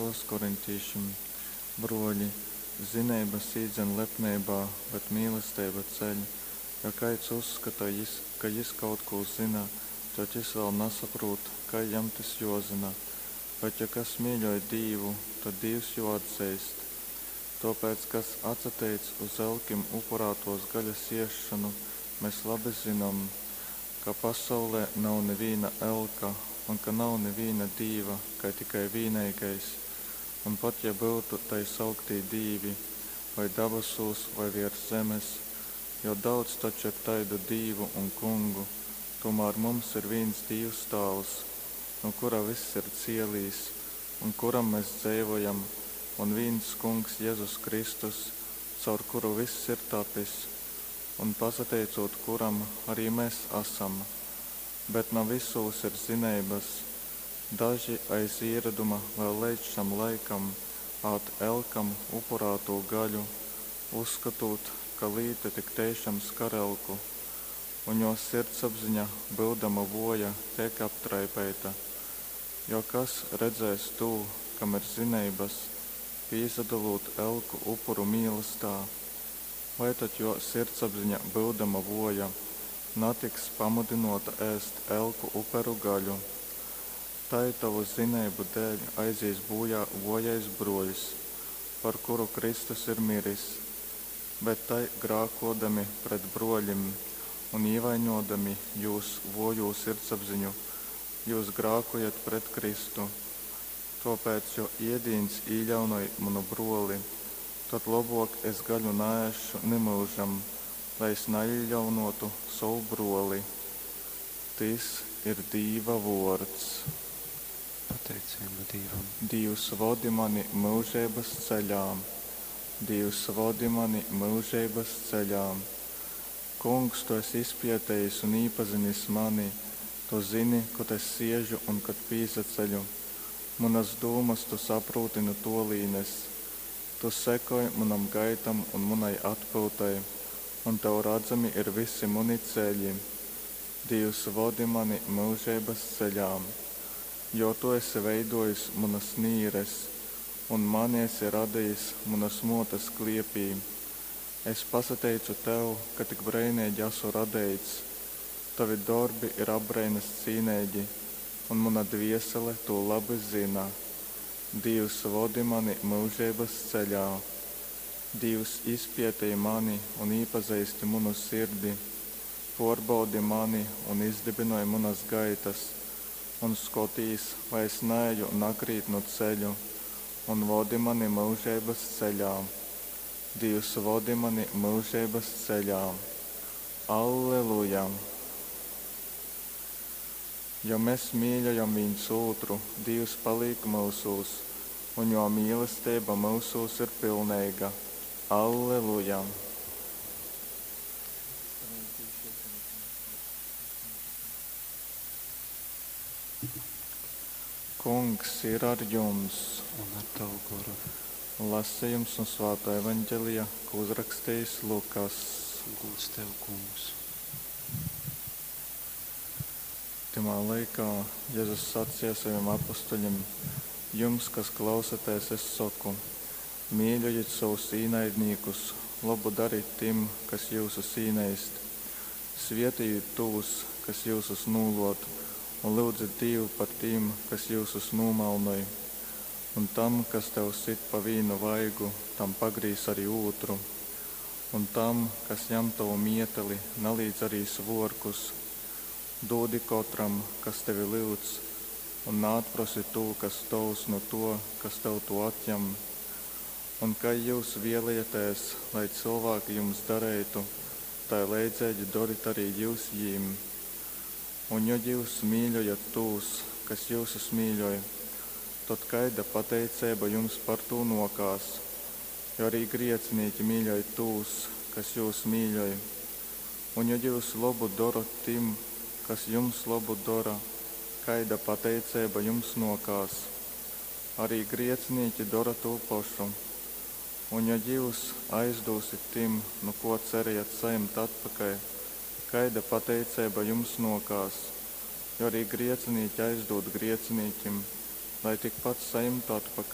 Vēstules korintīšim. Bruoļi, zineibas īdzan lepneibā, bet mīlesteiba ceļ. Jo kaids uzskota, jis, ka jis kaut kū zyna, tod jis vēl nasaprūt, kai jam tys juozyna. Bet jo kas mīļoj Dīvu, tod Dīvs jū atzeist. Tōpēc, kas atsateic uz elkim upurātōs gaļas ēsšonu, mes labi zynom, ka pasaulē nav nivīna elka un ka nav nivīna dīva, kai tikai vīneigais, un pat ja byutu tai sauktī dīvi, voi dabasūs, voi viers zemes, jo daudz taču ir taidu dīvu un kungu, tūmār mums ir vīns Dīvs Tāvs, nu kura vyss ir cielīs un kuram mes dzeivojam, un vīns Kungs Jezus Kristus, caur kuru vyss ir tapis, un pasateicūt kuram arī mes asam. Bet na vysūs ir zineibas. Daži aiz īroduma vēl leidz šam laikam ād elkam upurātū gaļu, uzskotūt, ka līta tik teišam skar elku. Un jō sirdsapziņa, byudama vōja, teik aptraipeita. Jo kas redzēs tū, kam ir zineibas, pīsadolūt elku upuru mīlastā, vai tad jō sirdsapziņa, byudama vōja, natiks pamudynōta ēst elku uperu gaļu? Tai tovu zineibu dēļ aizīs būjā vōjais brōļs, par kuru Kristus ir miris. Bet tai grākōdami pret brōļim un īvaiņōdami jūs vōjū sirdsapziņu, jyus grākojat pret Kristu. Tōpēc, jo iedīņs īļaunoj munu brōli, tad lobōk es gaļu naēsšu nimyužam, lai es naīļaunōtu sovu brōli. Tys ir Dīva vōrds. Pateiceiba Dīvam. Dīvs vodi mani myužeibas ceļā. Dīvs vodi mani myužeibas ceļā. Kungs, tu esi izpietejis un īpazinis mani, tu zini, kod es siežu un kod pīsaceļu. Munas dūmas tu saprūti nu tōlīnes. Tu sekoj munom gaitom un munai atpyutai, un tev radzami ir vysi muni ceļi. Dīvs, vodi mani myužeibas ceļā. Jo tu esi veidōjis munas nīres un mani esi radejis munas mōtes kliepī. Es pasateicu tev, ka tik breineigi asu radeits. Tovi dorbi ir apbreinas cīneigi, un muna dviesele tū labi zyna. Dīvs, vodi mani myužeibas ceļā. Dīvs, izpietej mani un īpazeisti munu sirdi. Pōrbaudi mani un izdybynoj munas gaitas, un skotīs, vai es naeju nakrītnu ceļu, un vodi mani myužeibas ceļā. Dīvs, vodi mani myužeibas ceļā. Alleluja! Jo mes mīļojam vīns ūtru, Dīvs palīk myusūs, un jō mīlesteiba myusūs ir pilneiga. Alleluja! Kungs ir ar jums! Un ar tavu goru. Lasījums no Svētā Evaņģelija, ko uzrakstījis Lukas. Gūds tev, kungs. Tymā laikā Jēzus sacīja saviem apustuļiem: Jums, kas klausaties, es saku, mīļojiet savus īnaidniekus, labu dariet tiem, kas jūsus īneist, svietijiet tos, kas jūsus nūlot, un lūdziet Dievu par tiem, kas jūsus nūmalnoj. Un tam, kas tev sit pa vīnu vaigu, tam pagrīz arī otru. Un tam, kas jam tavu mieteli, nalīdz arī svorkus. Dūdi katram, kas tevi lūdz, un neatprosi to, kas tovs no to, kas tev to atņem. Un kai jūs vēlaties, lai cilvēki jums darītu, tai leidzīgi doriet arī jūs jīm. Un ja jūs mīļojat tos, kas jūsus mīļoj, tad kaida pateicība jums par to nokās, jo arī griecinīki mīļoj tos, kas jūs mīļoj. Un ja jūs labu darat tim, kas jums labu dara, kaida pateicība jums nokās. Arī griecinīki dara to pašu. Un ja jūs aizdūsit tim, nu ko cerējat saņemt atpakaļ, kaida pateicība jums nokās, jo arī griecinīki aizdūd griecinīkim, lai tikpat saņemtu atpakaļ.